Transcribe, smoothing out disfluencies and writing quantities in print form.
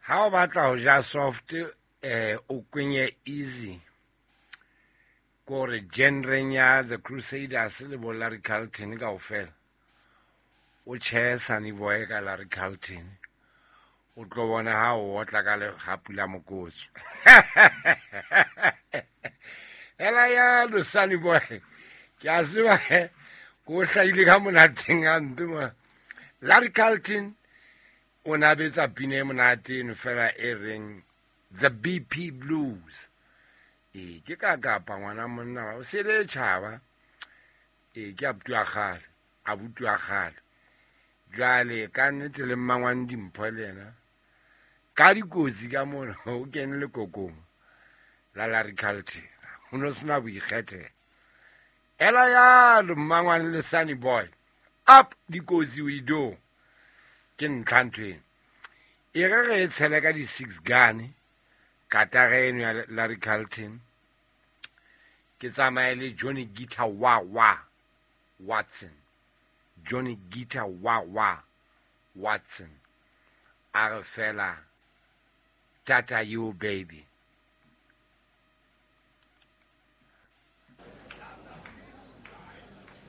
Ha o batla ho ja soft, o kwenye easy. Kore genreng ya The Crusaders le bo Larry Carlton kaofela. O tjhe Sunny Boy ka Larry Carlton. O tlo bona ha o otla ka lehapu la mokotso. Ela yalo Sunny Boy. Ke a tseba he, ko hlahile ka monateng a mpe mo. Larry Carlton o na betsa pina e monate eno fela e reng The BP Blues. Ee, ke ka kapa ngwana monna o sele tjhaba. Ee, ke abuti wa kgale, abuti wa kgale. Jwale ka nnete le mmangwane Dimpho le yena. Ka dikotsi ka mono o kene lekokong la Larry Carlton. Ho no sena boikgethelo. Ela yalo mmangwane le Sunny Boy. Up dikotsi we do. Ke ntlha ntho eno. E re re e tshele ka di-6 gun katara eno ya Larry Carlton. Ke tsamaye le Johnny Guitar Wah Wah Watson. Johnny Guitar Wah Wah Watson. A re fela tata you baby.